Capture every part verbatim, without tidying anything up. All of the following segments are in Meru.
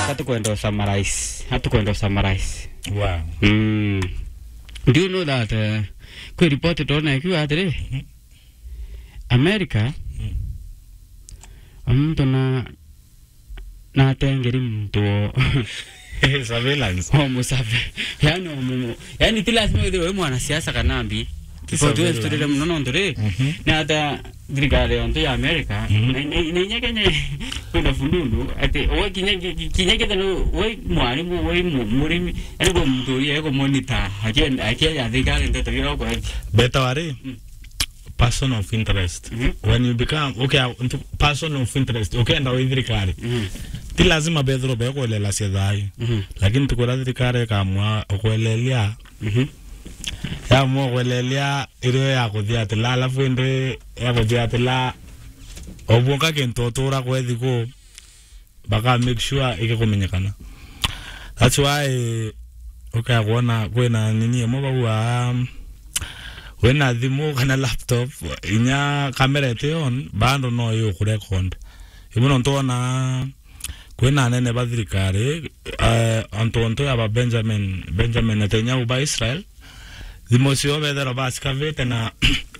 Hatukwenda summarize. Hatukwenda summarize. Wow. Mm. Do you know that, uh, kwi report ndona ikiuga atiri, America, muntu na, na atengeri muntu o surveillance. O musabe. Yani, o mu-, yani, ti lazima withirwe wi mwanasiasa kana mbi. Ti surveillance. Tuturire muno nontu ri, ni ata thirikari yontu ya America, na, na, na inya Kenya kwina fununu, ati, we kinya, ki-, ki-, kinya kethira we mwarimu, we mu-, murimi, yani, gwe muntu uria ego monitor, akienda, akienda thirikari nteto iria ukwethia. Beta wari? Person of interest. When you become, okay, uh, ntu-, person of interest, ukienda wi thirikari. Ti lazima bethirwe bekwelelacia thayu. Lakini tukwira thirikari ikamua ukwelelia. Yamua ukwelelia irio ya kuthiatila, alafu indi ya kuthiatila, obwonka kintu utura kwethi ku, baka make sure ikikumenyekana. That's why ukaya kwona kwina nini imwe bauga, wina thimu kana laptop, inya kamera iti on, bado no ikurecord. Ibu nontu wona kwina anene ba thirikari, eh, antu ontu ya ba Benjamin, Benjamin Netanyahu ba Israel, thimu cio bethera ba scavate na,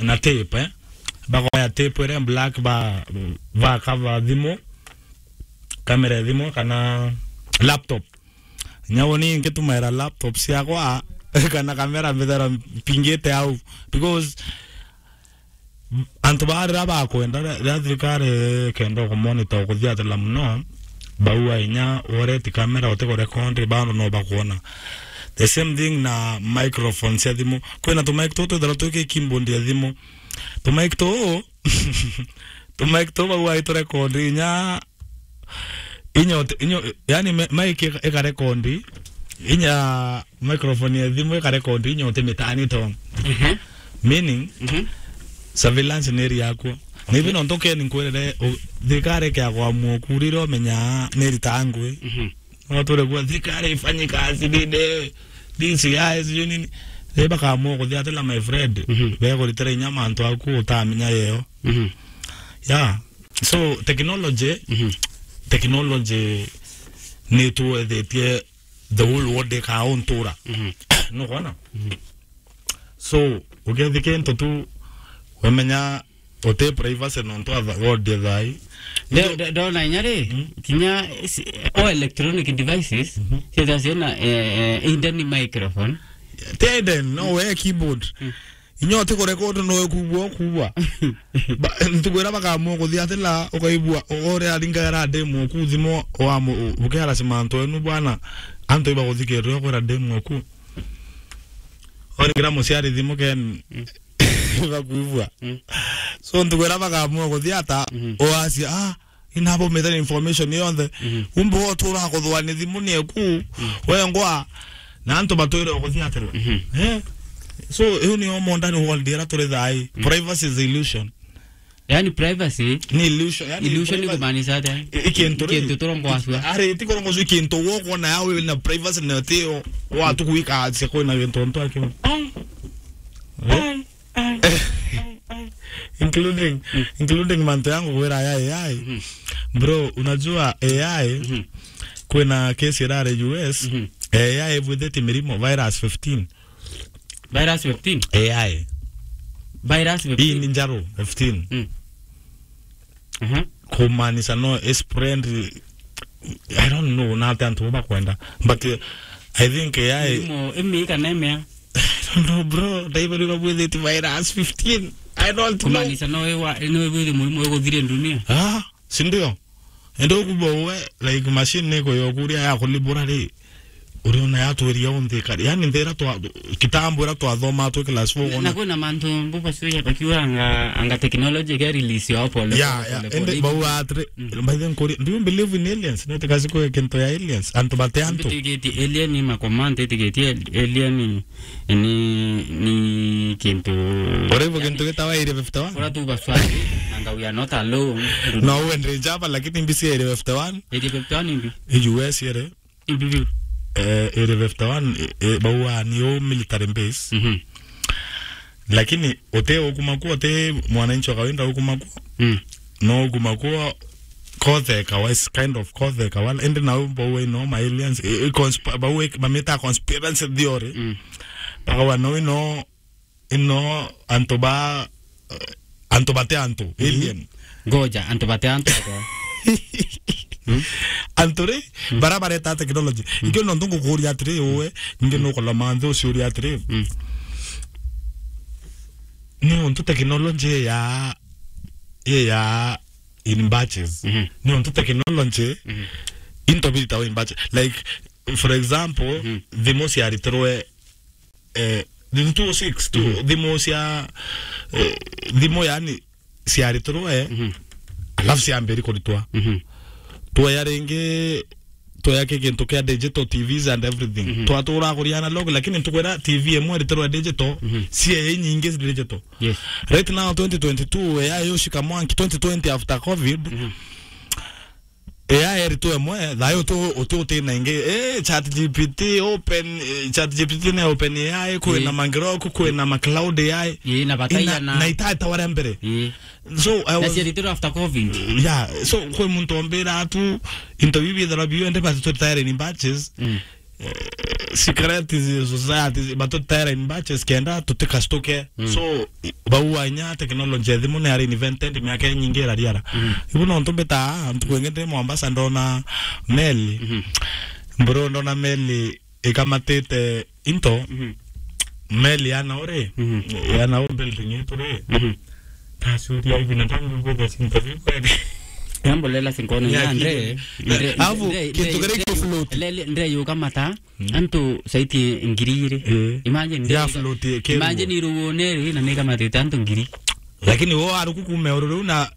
na tape, eh? Bakoya tape ire black ba, ba cover thimu, kamera ya thimu kana laptop. Nyau ni nkitumaira laptop ciakwa kana kamera mbithera mpingite au, because antu ba riria bakwenda, riria thirikari kenda kumonitor kuthiatila muno, baua inya ureti kamera utikurekondi, bado no bakwona. The same thing na microphone cia thimu. Kwina tumaiki tutu twithirwa twi keyboard ya thimu. Tumaiki tuu, tumaiki tuu bau aiturekondi inya, inya uti-, inya, yani me-, maiki ika-, ikarekondi, inya microphone ya thimu ikarekondi inya uti mitani to. Meaning, surveillance ni iri yaku. Na ibi nontu keni nkwirire, u-, thirikari ikiagwa muoku, riria umenya ni iritaa ngui. No ture kuuga thirikari ifanyi kazi nini, D C I, sijui nini. Riria bakaamua kuthiatila, my friend, bekuritira inya mantu aku utamenya yeo. Yeah. So, technology, technology ni tuethetie the whole world ikauntura. Nukwona? So, ukethi kintu tu, wemenya uti privacy nontu atha-, world ithai. Ndo-, ndo-, ndona inya ri, kinya si-, all electronic devices, cietha ciena, eh, eh, hidden microphone. Ti hidden, no we keyboard. Inya uti kurecord no we kubua, kubua. Ba-, ntuku iria bakaamua kuthiatila, ukaibua, u-, uria aringaira demo ku thimu, wa mu-, u-, bukiara simanto enu bwana, antu ibaguthikirira ukwira demo ku. Oringira muciari thimu ken, bakuibua. So, ntuku iria bakaamua kuthiata, uacia, ah, inabo methera information yonthe. Umbe utura kuthwa ni thimu ni eku, wengwa, na antu batwire kuthiatira. Eh? So, iu ni modern world iria turi thai. Privacy is illusion. Yani privacy ni illusion, yani illusion ni privacy kumaanisha atia? I-, ikintu ri-, ikintu turongwacua. Ari, ti kurongwacua, ikintu wo kwona yawe na privacy na tio, watu kuika atia kwina gintu ntu akio. Ai. Eh? Ai, ai, ai, ai. Including, including mantu yangu kwira ya A I. Bro, unajua A I, kwina case irare U S, A I ibwithitie mirimo, virus fifteen. Virus fifteen? A I. Virus fifteen? Hii ni njaru, fifteen. Kumaanisha no spread, I don't know, na ati antu bakwenda. But, uh, I think A I. Mirimo imi kana imea? I don't know, bro. Ndaibarirwa bwithiti virus fifteen. I don't know. Kumaanisha no iwa, no ibwithi murimu iguthire dunia. Ah, si ndio? Ende ukubwa uwe, like, machine niko yokuria ya kulibura ri. Uriona yatwiria unthi kari. Yani nthira twa, kitambo ira twathoma twi class four. Na kwina mantu mbuba cio ya bakiuga anga, anga technology ke release yo pole. Yeah, pole, yeah. Pole, ende pole. Bau atri, by the way, do you believe in aliens? No te kasi kwe kintu ya aliens. Antu bate antu. Itikitie alien ni ma command, itikitie alien ni, ni, ni kintu. Ore bo kintu gitawa Area fifty-one? Ura tu baswali, anga we are not alone. No, we ndri jaba, lakini mbisi Area fifty-one. Area fifty-one imbi? U S ere. Imbi biu? Eh, Area fifty-one, eh, eh, bauga ni o military base. Mhm. Lakini uti ukuma kuo, uti mwananchi wa kawaida ukuma kuo. Mm. No ukuma kuo kotheka wa, is kind of kotheka wa, indi nau bau ino ma aliens, i, i consp-, bau i, mamita conspiracy theory. Mm. Bakawa no ino, ino antu ba, eh, antu bate antu, alien. Ngoja, antu bate antu ata? Antu ri, bara bareta technology. Ikio no ntu ngukuria atiri, uwe, ningi nukuloma nthi uciuria atiri. Mm. Ni untu technology ya, ya in batches. Mhm. Ni untu technology into bitawa in batches. Like, for example, thimu ciaritirwe, eh, in two oh six tu, thimu cia, eh, thimu yani ciaritirwe, alafu ciambiri kuritwa. Mhm. Twaya ringi, twaya ki gintu kia digital T Vs and everything. Mhm. Twatura kuri analog, lakini ntukwira T V imwe iritirwe digital, ciaye inyingi digital. Yes. Right now, twenty twenty-two, A I yushika mwanki, twenty twenty after covid, A I eritwe mwe, thayo tu, uti uti na ingi, eh, Chat G P T, Open, eh, Chat G P T na Open A I, kwina ma Grok, kwina ma Claude A I. Ii, na bataia ina, na na itata wara mbere. Ii. So, I Na was ciaritwe after covid. Yeah, so, kwi muntu ombira atu, into bibi thara biyo, ende bati tutire in batches. Mm. Eh, secret society, batutera in batches kenda tutikastuke. Mm. So, i-, bau wanya technology ya thimu ni ari invented miaka inyingi irariara. Mm. Ibu no ntu mbita, ntuku ingi ndi Mombasa ndona meli. Mhm. Mburu ndona meli ikamatite into. Mhm. Meli yana uri, Mhm. yana u building itu ri. Mhm. Ndacuria hivi na tangu ngwithia cinta biu kweli. Yambo lela sinkone Ya ya ndre, kigeni. Ndre, Alafu, ndre, kintu ndre, kiria ndre, gikufloat. Lele, ndre yuka mata, Mm. antu saiti ngiri iri. Eh. Imagine, ndre Ya yuka, float, eh, keruo. Imagine iruone ri na nika matite antu ngiri. Lakini wo aruku kume ururu na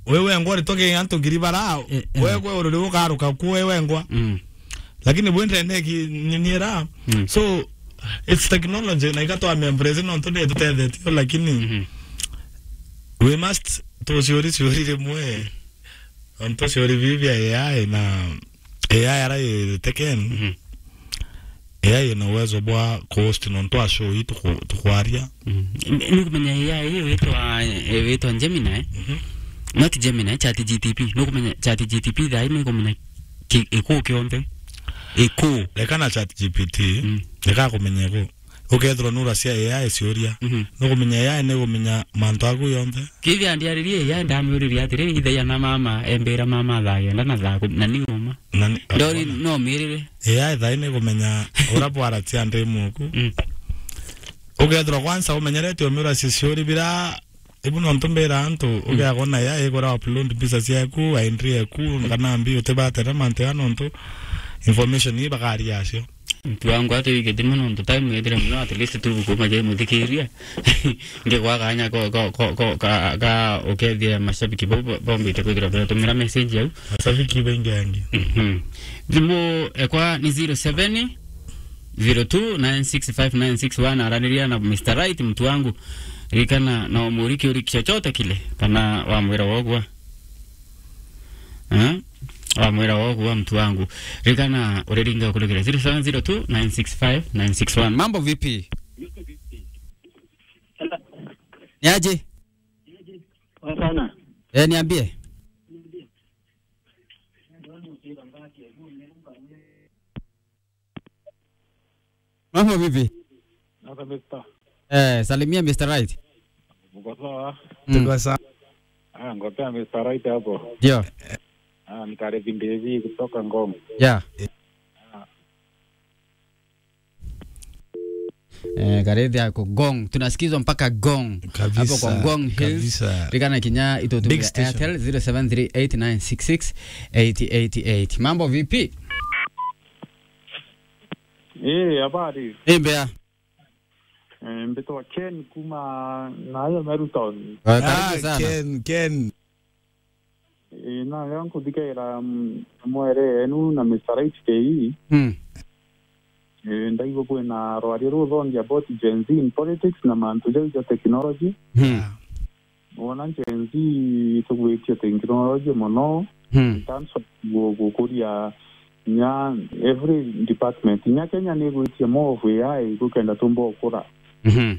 we wengwa ritoke antu ngiri bara, Eh, eh. we kwe ururu ukaruka ku we wengwa. Mm. Lakini bwendere neki ni, ni era. Mm. So, it's technology, na ikatwa me embrace no ntu ni tutethetio, lakini Mhm. we must tuciuri ciuri rimwe. Antu ciuri bibi bia A I na A I ara iteken. Mhm. A I ina uwezo bwa ku-host nontu a show ii tuku-, tukwaria. Mm. Ni, ni kumenya A I ii witwa, eh, witwa Gemini, eh? Mhm. Not Gemini, Chat G T P. Ni kumenya Chat G T P thaa ii ni kumenya ki-, iku kionthe. Iku. Reka na Chat G P T, Mm. reka kumenya iku. Ukethirwa nuracia A I ciuria. Mhm. Ni kumenya A I ni kumenya mantu aku yonthe. Kithia ndiaririe A I ndamiuririe atiri, ithaia na mama, embira mama thaa kenda na thaa kumi, na ni uma. Na ni, Ndori no mirire. A I thaa ii ni kumenya ura bwaracia ndi muku. Mm. Ukethirwa kwanza umenyerete umiura ciciuri bira, ibu no ntu mbira antu, Mm. ugeagwa na A I igura upload mbica ciaku, ID yaku, kana mbi utibatera mantu ya nontu information ii bakaria acio. Mtu wangu ati wiki thimu nontu time ithire muno, at least tu kuma je muthikiria. Nge kwa kanya ko, ko, ko, ko, ka, ka, ukethia mashabiki bo, bo, bombite kwithira betumira message au. Mashabiki baingi angi. Mhm. Thimu ekwa ni zero seven zero two nine six five nine six one, araniria na Mister Right, mtu wangu. Rikana na umuri kiuri chochote kile, kana wamwira wogwa. Eh? Wamwira wogwa, mtu wangu. Rikana uriringa kulegera zero seven zero two nine six five nine six one. Mambo vipi? Ni aje? Poa sana. Eh, niambie. Mambo vipi? Sasa, Mister. Eh, salimia Mister Right. Mko sawa? Mm. Tuko sawa. Ah, ngopea Mister Right hapo. Ndio. Ah, ni Karithi Mbithi kutoka Ngong. Yeah. Ah. Eh, Karithi yako Ngong. Tunasikizwa mpaka Ngong. Kabisa, hapo kwa Ngong Hills. Kabisa. Rikana kinya itutumia Big station. Airtel zero seven three eight nine six six eight eight eight. Mambo vipi? Eh, habari? Eh, mbea. Eh, mbitwa Ken kuma nayo Meru Town. Ah, karibu Ah, sana. Ken, Ken. Eh, na leo nkuthikaira, mm, mwere enu na Mister H K E. Mm. Eh, ndaigua kwina rwaria ruthongi about Gen Z in politics na mantu jau ja technology. Mm. Ah. Wona Gen Z itugwitie technology mono, Hmm. in terms of gu-, gukuria nya every department. Nya Kenya ni igwitie more of A I gukenda tumba ukura. Mhm.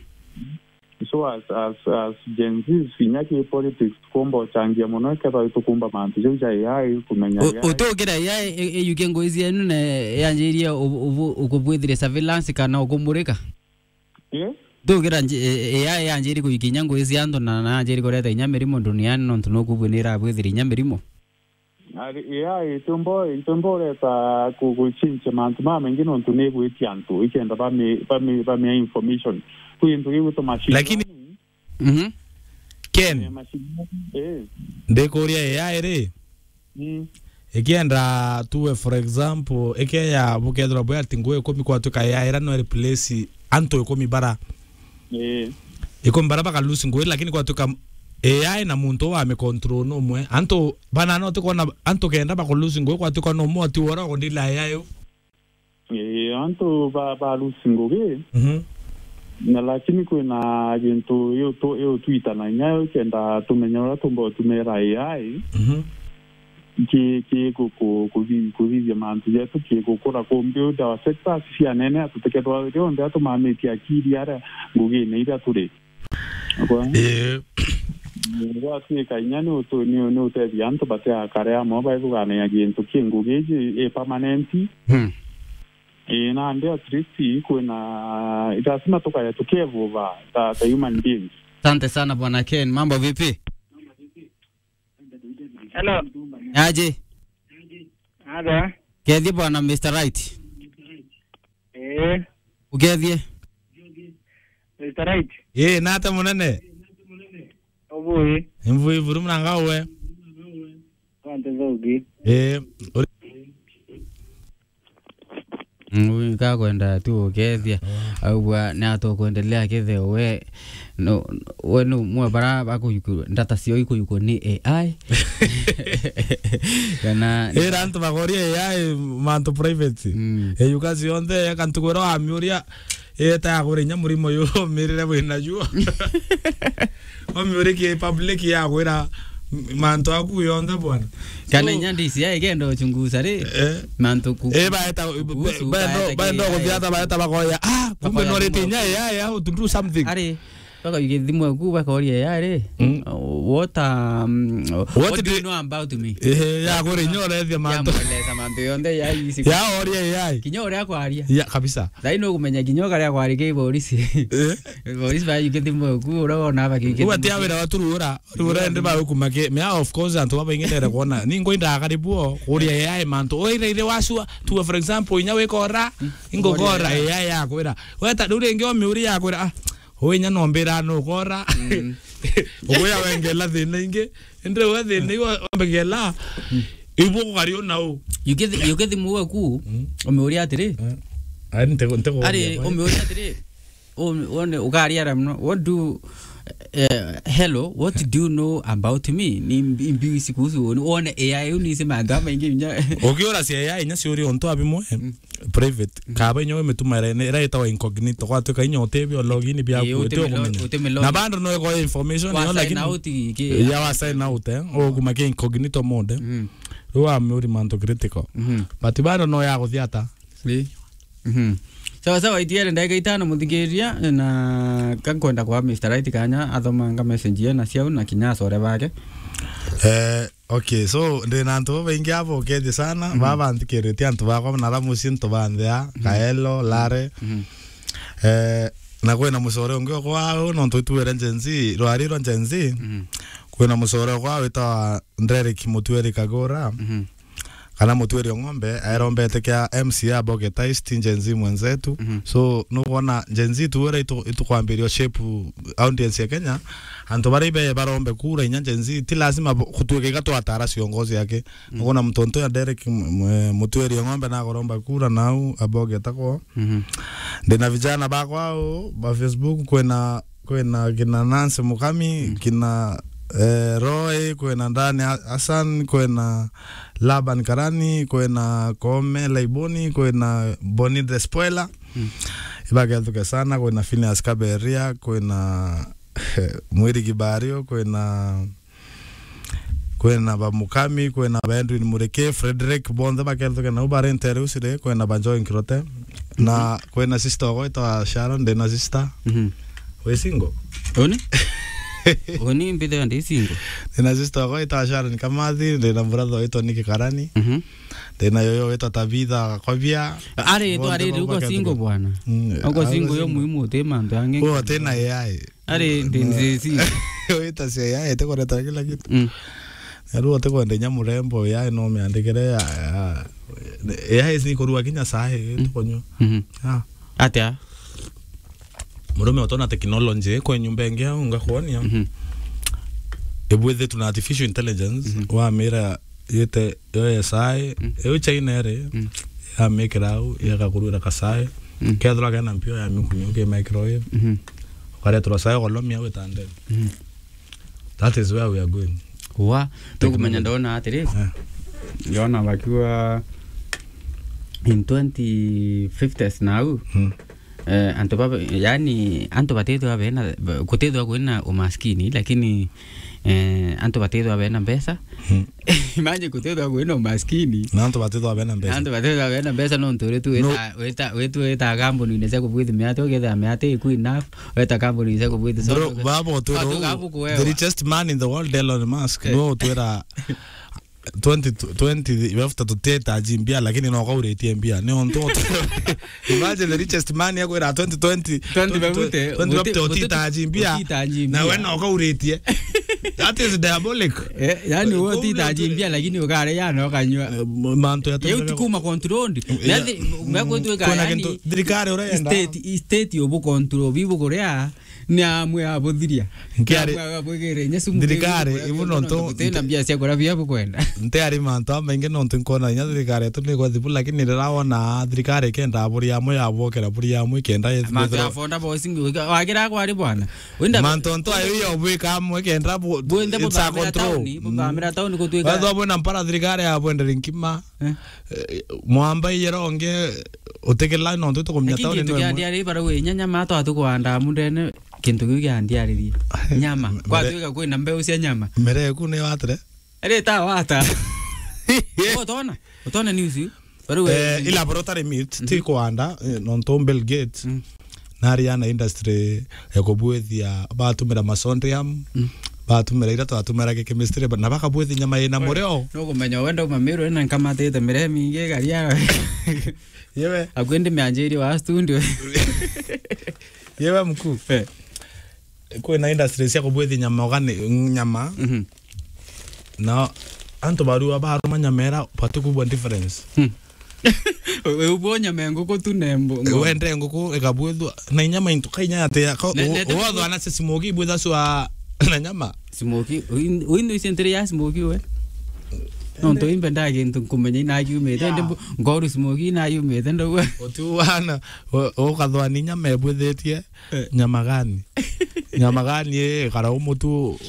So as, as, as Gen Zs, inya ki politics, tukumba uchangia muno, kethira tukumba mantu jau ja A I, kumenya U-, A I. Utukira A I i-, iyukie ngugi cienu na yanjirie u-, u-, ukubwithire surveillance kana ukumurika? Eh? Tukira nji-, e-, A I yanjirie kuyukia inya ngugi cia antu na, na yanjirie kureta inya mirimo duniani, nontu nukubwinira abwithire inya mirimo. Ari, A I itumbo, itumbo ureta ku-, guchinche mantu mamaingi nontu ni igwitia antu, ikenda bami-, bami-, bamia information. Kwi into gigwitwa machine learning. Mhm. Ken, eh, machine learning, eh. Ndikuria A I ri, mm, ikienda tuwe, for example, ikeya bukethirwa bwi ati ngugi ikumi kwatuika A I ira no replace antu ikumi bara. Eh. Ikumi bara baka lose ngugi, lakini kwatuika A I na muntu wa mi control numwe. Antu bana no tukwona antu kenda baka lose ngugi kwatuika numwe ati wora kundila A I u. Eh, antu ba, ba lose ngugi. Mhm. Na lakini kwina gintu yo tu, yo twitana nyayo kenda tumenya uria tumba utumira A I. Mhm. Ki, ki ku, ku, kuthi-, kuthithia mantu jetu, ki gukura kumbi undi wa sectors cia nene, tutikethwa rionthe atumamitie akiri aria ngugine iria turi. Kwa? Eh. Gwatuika inya ni utu-, ni, ni utethia antu batiakare amwe baithuganagia gintu ki ngugi iji i permanent. Hmm. Eh, nandi at least kwina, lazima tukaya tukievolve ta, ta human beings. Asante sana Bwana Ken, mambo vipi? Hello. Aje? Ada. Kethie bwana Mister Right. Eh. Ukethie? Mister Right. Eh, nata munene? Obui. Imvui buru mnanga uwe. Kwante thogi. Eh, uri- Mm, kakwenda tu ukethia. Augwa ni atukuendelea kitheo we. No, we no mwe bara bakuyuku, data cio ikuyuku ni A I. Kana ira antu bakoria A I mantu private. Mm. Eyuka cionthe, eka ntuku ira wamiuria, eta ya kuri inya murimo yu umirire wina juo. Wamiuria ki public ya kwira mantu aku yonthe bwana. Kana inya D C I igenda uchunguza ri, eh, mantu ku-, eh, baeta, kuhusu, baeta, baeta baeta ki-, kuthiata, baeta bakoya, ah, kumbe bakoya norete inya ya, ya to do something. Ari, baka yuge thimu eku, baka oria ya ri. Mm. Uh, what, um, what do you know about me? Eh, ya kore inya orethia mantu. Ya mweleza mantu yonthe ya isi. Ya oria ya. Kinya uria kwaria. Ya, kabisa. Thai no kumenya kinya ukaria kwaria ki borisi. Eh? Borisi ba yuge thimu eku, ura wona ba kiuke. Uwa tia wira watu rura. Riu uria ndi bagukuma ki, mea, of course, antu babaingi ndere kwona. Ni ngwindaga karibu o, kuria A I mantu. Oi, ira ire wacua, tuwe, for example, inya wikora, ingukora A I yakwira. Weta, riu ringi omiuria yakwira, ah, ui inya nombira nukora. Mm. Uguya wengela thina ingi. Indi we thina iu wambegela. Mm. Ibu kugari una u. Yukithi, yukithi muwe ku, mm, omiuria atiri. Eh. Ari, nte, nte. Ari, omiuria atiri. O-, one, ukaria ara mno. What do, eh, hello, what do you know about me? Ni mbi-, mbiu ici kuhusu uni. Wone A I uni ici mantu amaingi inya. Ukiura cia A I inya ciuri ontu abimwe, mm, private. Mm. Kaba inya we mituma ira, ira itawa incognito. Gwatuika inya utebi o login biaku, eh, uti uti ume lo-, ukumenya. Uti ume lo-, na bado no iko information wa yo, sign lakini out ki-, ya wa sign out, eh. Ukuma ki incognito mode. Mm. Riu amiuri mantu critical. Mhm. But bado no ya guthiata. Ri. Mhm. Sawa sawa, itiere ndagika itano, muthikiria, na kankwenda kwa Mister Right kanya athomanga message ye na ciau na kinya acore bake. Eh, okay, so, ndina antu babaingi abo ukethie sana, mhm, baba nthikiritie antu bakwa na ala mucii ntubanthea, mhm, Kaelo, Lare. Mhm. Eh, na kwina mucore ungi okwa au, nontu ituere Gen Z, rwari rwa Gen Z, mhm, kwina mucore okwa witawa Derek Mutueri Kagura. Mhm. Kana Mutueri o Ng'ombe, aerombete kia M C A Boget East, Gen Z mwenzetu. Mhm. So, nukwona Gen Z tu ura itu-, itukwambiria shape audience ya Kenya, antu baria ibe barombe kura inya Gen Z, ti lazima bo-, kutuika iga twatara ciongozi yake. Mhm. Nukwona muntu untu ya Derek M-, M-, Mutueri o Ng'ombe nakoromba kura nau a Boget akwa. Mhm. Ndina vijana bakwa au, ba Facebook, kwina kwina kina Nancy Mukami, mm, kina, eh, Roy, kwina Dani Ha-, Hassan, kwina Laban Karani, kwina Kome Laiboni, kwina Boni the Spoiler. Mm. Ibagethuke sana, kwina Phineas Kaberia, kwina Mwiri Kibario, kwina, kwina Bamukami, kwina ba Edwin Mureke, Frederick, bonthe bagethuke nau barentere ucire, kwina ba Joy Nkirote. Na, mhm, kwina sister ogwetwa Sharon, ndina sister. Mhm. Wi single? Uni? Uni mbithira ndi single. Ndina sister wakwa witwa Sharon Kamathi, ndina brother witwa Nick Karani. Mhm. Ndina yoyo witwa Tabitha Kwabia. Ari, tu ari, uko single bwana. Mm, uko single yo muhimu, uti mantu angi. Uo tena A I. Ari, ndi, ndi single. Wita cia A I, itikureta kila kitu. Mm. Na riu utikwenda inya murembo, A I no miandikire ya, ya, A I ni kurua kinya sahi, tukunywa. Mhm. Ah. Atia? Murume utona technology kwe nyumba ingi au ngakuonia. Mhm. Ibwithitu na artificial intelligence, mhm, wamira yite yo S I, mm, iu China iri, mm, yamikira au, yakakurwira kasai. Mm. Kethirwa kena mpio ya mikunyo ki microwave. Mhm. Ukareterwa sai ukolomia witande. Mhm. That is where we are going. Wa, tukumenya ndona atiri. Eh. Ndona bakiwa in twenty fifties na au. Mm. Eh, antu ba, yani, antu batithwa bena, gutithwa kwina umaskini, lakini, eh, antu batithwa bena mbeca. Mm. Imagine gutithwa kwina umaskini. Na antu batithwa bena mbeca. Antu batithwa bena mbeca, no ntu uri tu, no, wita, wita, witu wita kambuni-ini cia kubwithi miati, ukethira miati iku enough, weta kambuni cia kubwithi. Bro, baba, utwira uu, the richest man in the world, Elon Musk, eh, no utwira twenty twenty, we after tutitaji mbia, lakini no kauritie mbia. Ni ontu imagine the richest man yakwira twenty twenty, twenty fifty, twenty fifty, utitaji mbia. Utitaji mbia. Na we no kauritie. That is diabolic. Eh, yani, we utitaji mbia, lakini ukare ya no kanywa. Eh, mantu ya yeu ti kuma controlled. Eh, ya, me kwitwika, kuna yani, kintu thirikari urenda. State, state ubu control, bibu kuria. Ni amwe abuthiria. Nkiari, ni amwe abwigire inya sumu. Thirikari, ibu nontu gutina mbia cia kuria bia bukwenda. Ntiari mantu amaingi nontu nkona inya thirikari yetu ni igwathi bu, lakini riria wona thirikari ikenda buri amwe yabwokera buri amwe ikenda mantu ya fonda boys ngi wagira kwari bwana. Wenda mantu ntu ayo yo bwika amwe kenda bu, bwende it's a buthamira control. Tauni, mm, buthamira tauni gutwika. Wethwa bwina mpara thirikari ya bwendere nkima. Eh. Eh, mwamba iyera ungi utikila nontu tukumenya tauni. Lakini kintu kia ndiari barau inya nyama twatukwanda mundene. Kintu kiu kia ndiaririe. Nyama. Mere-, kwatuika kwina mbeu cia nyama. Mere eku ni watire? Ari ta wata. Utona? Utona news iu? Bari we, eh, i laboratory meat, mhm, ti kwanda, eh, nontu Bill Gates, mm, nari ana industry ya kubwithia, batumira masondium, mm, batumira ira twatumira ki chemistry, ba-, na bakabwithia nyama ina murio. Nukumenya wenda uma miru ina nkamatite mire mingi garia. Yewe. Akwende mianjiri wa studio. Yewe mkuu. Eh. Kwina industry cia kubwithia nyama organic, nyama. Mhm. Na antu barua baruma nyama era batikubwa difference. Hmm. We ubwo nyama ya nguku tu na mbu-, ng'ombe. Wende nguku ikabwithwa na inyama into kainya atia ka-, ne-, ne-, wotho ana smoke ibwitha swa na nyama. Smoke, uin-, uindu icio ntiri ya smoke we. Nontu imbe nda gintu nkumenya ina yumite, yeah, ndi mbu-, ngoru smoke ina yumite, ndauga. Utu wana, u-, ukathwa ni nyama ibwithitie. Eh. Nyama gani? Nyama gani, eh, kara umutu,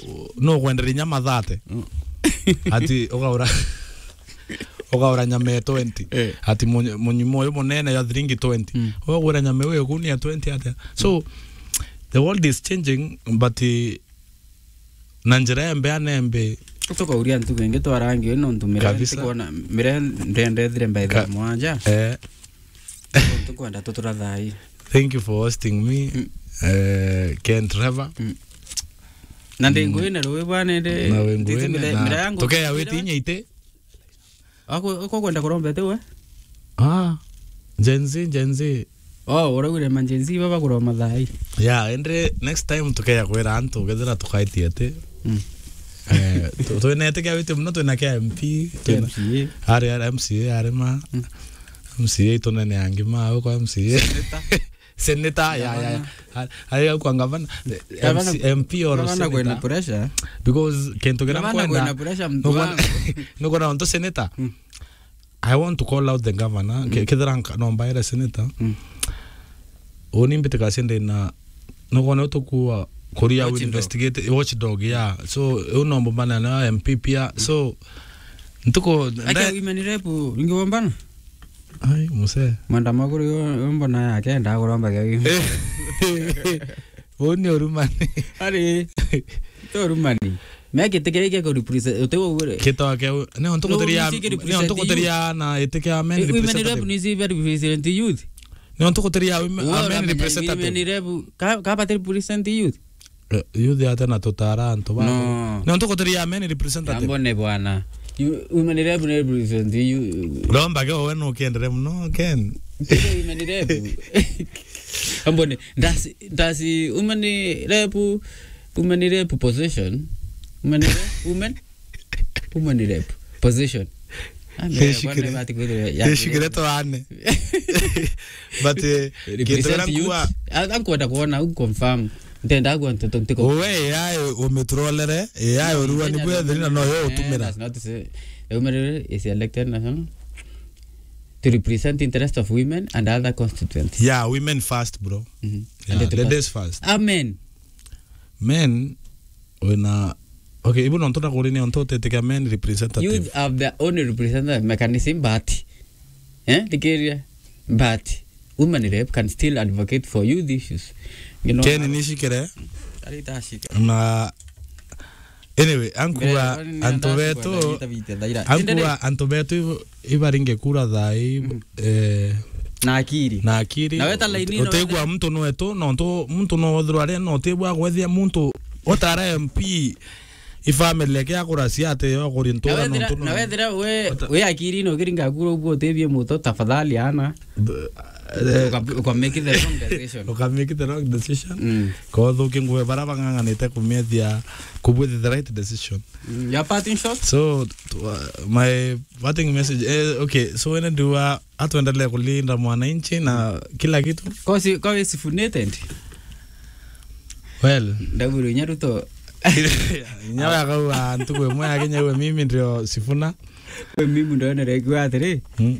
no kwendere nyama thate? Mm. Ati ukaura, ukaura nyama ya twenty. Eh. Ati mu-, munyimo uyu munene ya thiringi twenty. Mm. Ugura nyama iwe ikuni ya twenty atia? So, the world is changing, but, eh, na njira ya mbea na embe. Tukauria ntuku ingi twarangi uyu nontu mire kabisa. Ntikwona, mire ndendethire mbaitha ka-, mwanja. Eh. Nontu kwenda tutura thai. Thank you for hosting me, mm, eh, Ken Trevor. Mm. Na ndi, mm, ngwine ruwi bwana ndi. Na we ngwine, mire-, na mire yangu tukeya witi inya ite. Ako, ako kwenda kuromba ete we? Ah, Gen Z, Gen Z. Oh, uraugire ma Gen Z baba kuroma thai. Yeah, ende next time tukeya kwira antu, kethira tukaitie ati. Mm. Eh, tu-, twina ete kia witi muno, twina kia M P, twina M C A. Ari, ari M C A, ari ma. Mm. M C A itunene angi ma, au kwa M C A. Senator. Senator, ya, ya, ya. Gavana. Ari, ari au kwa gavana. Gavana, M C, M P or gavana kwina senator. Pressure. Because kintu kira gavana nkwenda, kwina pressure, mtu nukwona, wangu. Nukwona onto senator. Mm. I want to call out the governor. Mm. Ke-, kethira nka-, no mbaire senator. Mm. Uni mbitikacia ndina, nukwona utukua kuria. Watchdog. Investigate, watchdog, yeah. So, u no mbumana na M P pia. Mm. So, ntuku, ake nde- women rep, ringi wombana? Ai, muse. Mwenda maguru yo, yo mbona yake, nda kuromba kia women. Uni urumani. Ari, to urumani. Me giti kiria gia ku represent, uti ugure. Kito kia u-, ni onto no, guteria, ni onto guteria na iti kia men representative. Women rep ni si very represent youth. Nontu gutiria women, women representative. Women rep, ka, ka bati represent youth? Eh, youth ate na tutara antu ba. No. Nontu gutiria men representative. Ambone bwana. You, women rep ni represent you. Romba ke we no kendere muno, Ken. Women rep. Ambone, does, does women rep, women rep position? Women rep, women? Women rep position. Ah, ndio, kwani bati kwithirwa ya nishikire twane. But, eh, kintu represent kira youth. Nkua- Ah, nkwenda kuona, u confirm. Ntenda kuona nteto ntiko. Uwe A I umitrolere, A I urua ni kwethirina no yo utumira. That's not to say. The women is elected national to represent interest of women and other constituents. Yeah, women first, bro. Mhm. Yeah, and the ladies first. Amen. Men, wina, okay, ibu nontu nakuri ni ontu utitikia men representative. Youth have their own representative mechanism, but, eh, thikiria, but women rep can still advocate for youth issues. You know, Ken nishikire. Ari tashika. Na, anyway, ankuwa antu betu, ankuwa antu betu ibaringe kura thaa ii, mm, eh, na akiri. Na akiri. Na weta laini ino utegwa muntu nwetu, nontu muntu no wethirwa ari, no utegwa gwethia muntu utara M P, i family yake akura ciate yo kuri ntura. Na wethira, nontu no, na wethira we, uta- we akiri ino ukiringa kura uguo utebie muto, tafadhali ana. Eh, uka, uka make the wrong decision. Uka make the wrong decision. Mm. Kothukia ngugi bara bang'ang'anite kumiethia kubwithia the right decision. Mm, your parting shot? So, tu-, uh, my parting message, eh, okay, so wene ndiwa atuendelee kulinda mwananchi na kila kitu. Kosi, kwa we Sifuna tent? Well. Ndaguru inya Ruto. Inya wakauga ntuku imwe ya Kenya iwe mimi ndio Sifuna. We mimi ndio nere kiwa atiri. Mm.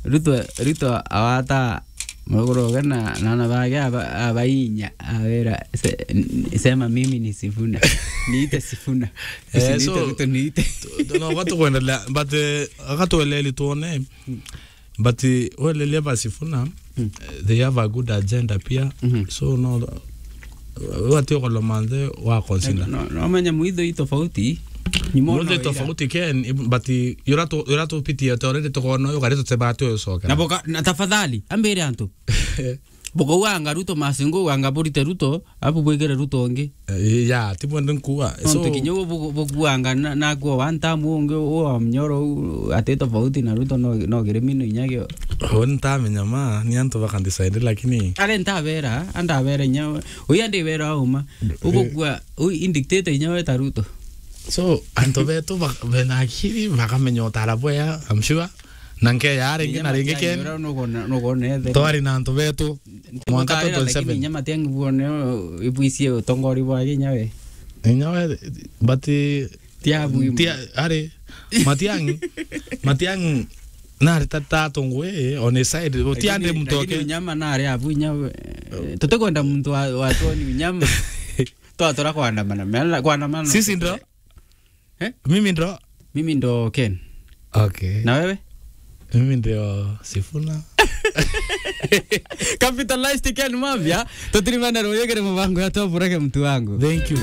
Ruto, Ruto awata Muguru uga na, na ana bage aba-, abainya, awera, se-, n-, sema mimi ni Sifuna. Niite Sifuna. Eh, usiniite so, Ruto, niite. Tu-, tu-, no, batu kuendelea, but, eh, akatueleli tuone. Mm. But, eh, welelia ba Sifuna, mm, eh, they have a good agenda pia. Mhm. So, no, wati ukolomanthe wa consider. No, no, no, menya mwitho i tofauti. Ni mona mwitho i tofauti, Ken, ib-, but yura tu-, yura tupitie te already tukona uyu kari tutebate uyu cokera. Na boka, na tafadhali, ambire antu. Bukauga anga Ruto masingo, anga burite Ruto, abu bwikire Ruto ungi. Eh, ya, ti bwende nkuwa. Nontu kinya ubu bu-, bukuanga na, na kwa one time ungi u wa mnyoro u, ati tofauti na Ruto no, no kirimi no inya kio. Ho ntamenya ma, ni antu baka decide, lakini are ntabera, andabera inya, uya ndibera auma. Eh. Ugukua, u indicate inya we ta Ruto. So, antu betu bak-, bena akiri, bakamenya utara bwea, I'm sure. Na nkeya ringi na ringi, Ken. Twari na antu betu. Mwanka twenty twenty-seven. Inya Matiang'i buone, ibwicie utongori bwa Kenya we. Inya we, but, eh, tia bwi. Tia, ari, Matiang'i, Matiang'i, nari ta, ta tungwe, on his side, utia ndi muntu oke. Lakini unyama nari abu inya we. Tutikwenda muntu wa, wa tuoni unyama. Twatura kwandamana, mela kwandamana. Sisi ndo? Eh? Mimi ndo? Mimi ndo Ken. Okay. Na wewe? Mimi ndio Sifuna. Capitalized Ken Mavia, tutirimana ruyegere mubango ya Top Reggae mtu wangu. Thank you.